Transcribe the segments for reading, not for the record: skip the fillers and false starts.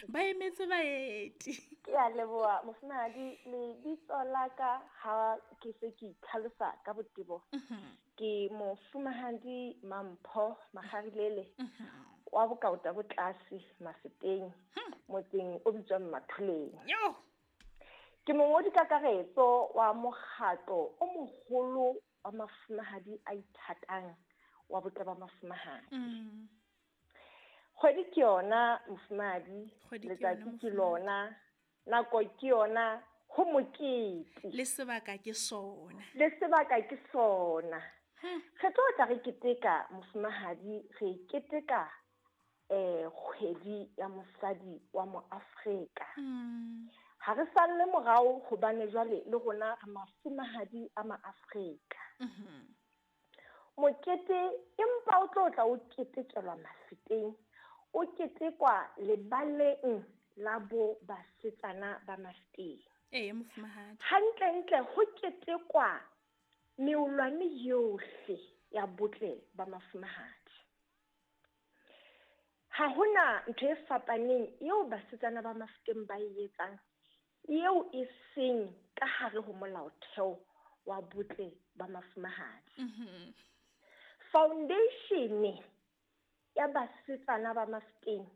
Ba emetse baeti. Ke a leboha mofumahadi, lebitso la ka ha ke se ke itlhalosa ka botebo. Ke mofumahadi Mampho Makgarilele wa Bokaota bo tlase Mafeteng, motseng o bitswang Matholeng. Ke mongodi kakaretso wa mokgatlo o moholo wa mafumahadi a ithatang wa botle ba mafumahadi. Kgwedi ke yona mofumahadi, letsatsi ke lona, nako ke yona, ho mokete. Le sebaka ke sona. Le sebaka ke sona. Re tlo tla re keteka mofumahadi, re keteka kgwedi ya mosadi wa moAfrika. Ha re salle morao hobane jwale le rona re mafumahadi a maAfrika. Mokete empa o tlo tla o ketekelwa Mafeteng, o ketekwa lebaleng la bo basetsana ba Mafeteng. Ee, mofumahadi. Hantlentle ho ketekwa meolwane yohle ya botle ba mafumahadi. Ha hona ntho e fapaneng eo basetsana ba Mafeteng ba e etsang eo e seng ka hare ho molaotheo wa botle ba mafumahadi. Foundation ya basetsana ba Mafeteng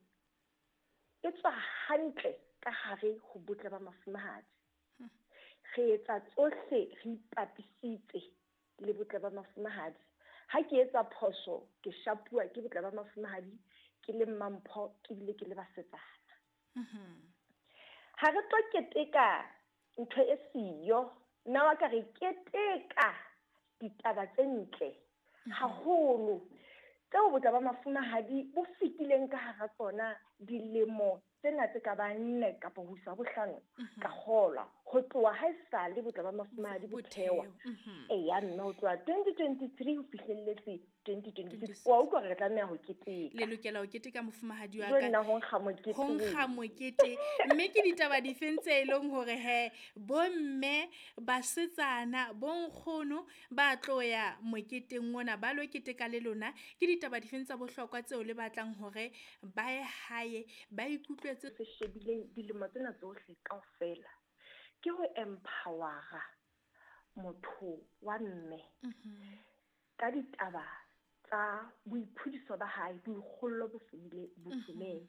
e tswa hantle ka hare ho botle ba mafumahadi. Re etsa tsohle re ipapisitse le botle ba mafumahadi. Ha ke etsa phoso ke shapuwa ke botle ba mafumahadi, ke le Mampho ke bile ke le basetsana. Ha re tlo keteka ntho e siyo, nna wa ka re keteka ditaba tse ntle haholo tseo botle ba mafumahadi bo fetileng ka hara tsona dilemo tsena tse ka bang 4 kapa ho isa bohlano ka kgolwa ho tloha ha esale botle ba mafumahadi bo thewa. Eya mme ho tloha 2023 ho fihlelletse 2026. Wa utlwa re tlameha ho keteka. Le lokela ho keteka mofumahadi wa ka. Nna ho nkga mokete. Ho nkga mokete. Mme ke ditaba difeng tse e leng hore he bomme, basetsana, bonkgono ba tlo ya moketeng ona ba lo keteka le lona? Ke ditaba difeng tsa bohlokwa tseo le batlang hore ba ye hae ba ikutlwetse? Se shebileng dilemo tsena tsohle kaofela ke ho empowera motho wa mme ka ditaba tsa boiphodiso ba hae, boikgollo bo fumeng.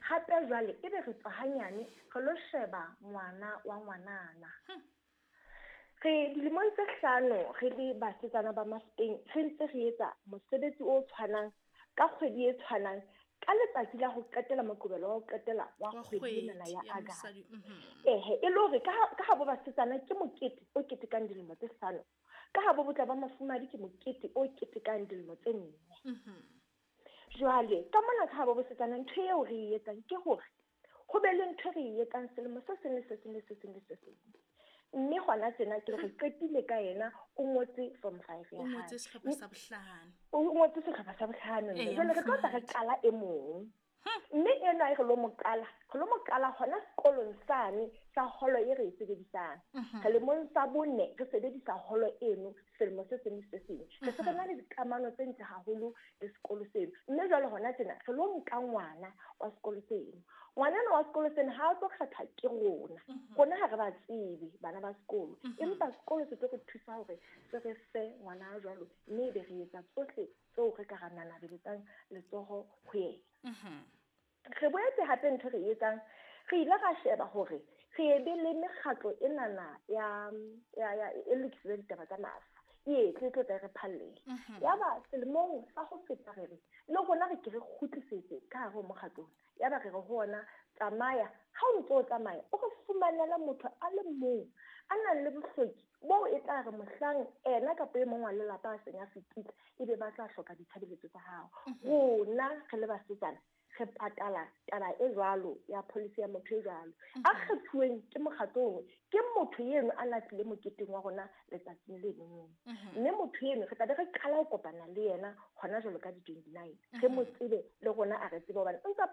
Hape jwale ebe re tswa hanyane re lo sheba ngwana wa ngwanana. Re dilemong tse 5 re le basetsana ba Mafeteng re ntse re etsa mosebetsi o tshwanang ka kgwedi e tshwanang ka letsatsi la ho qetela moqebelo wa ho qetela wa kgwedi ena ya August. Ehe, e le hore ka ha bo basetsana ke mokete o ketekang dilemo tse 5, ka ha bo botle ba mafumahadi ke mokete o ketekang dilemo tse 4. Jwale ka mona ka ha bo basetsana ntho eo re e etsang ke hore ho be le ntho re e etsang selemo se seng le se seng le se seng le se seng. Mme hona tjena ke re qetile ka yena, o ngotse form 5 ya O hae. ngotse sehlopha sa bohlano. O ngotse sehlopha sa bohlano. Jwale re tlo tla re qala e mong. Mme ena e re lo mo qala, re lo mo qala hona sekolong sane sa holo e re e sebedisang. Selemong sa 4 re sebedisa holo eno selemo se seng le se seng. Re se re na le dikamano tse ntle haholo le sekolo seno. Mme jwale hona tjena re lo nka ngwana wa sekolo seno. Ngwana wa sekolo seno ha a tlo kgethwa ke rona. Rona ha re ba tsebe bana ba sekolo. Empa sekolo se tlo re thusa hore se re fe ngwana a jwalo, mme ebe re etsa tsohle tseo re ka ra nanabeletsang letsoho ho yena. Re boetse hape ntho re etsang, re ile ra sheba hore re ebe le mekgatlo enana ya e lokisitse ditaba tsa mafa. E tle tlo tla re phallele. Yaba selemong sa ho feta re re le rona re ke re kgutlisetse ka hare ho mokgatlo ona. Yaba re re ho ona tsamaya, ha o ntso o tsamaya o re fumanela motho a le mong a nang le bohloki boo e tla re mohlang ena kapa e mong wa lelapa a seng a fetile ebe ba tla hloka ditshebeletso tsa hao. Rona re le basetsana re patala taba e jwalo ya policy ya motho e jwalo. A kgethuweng ke mokgatlo ono, ke motho eno a latlile moketeng wa rona letsatsing le leng. Mme motho eno re tla be re qala ho kopana le yena hona jwalo ka di-29. Re mo tsebe le rona a re tsebe hobane o ntsa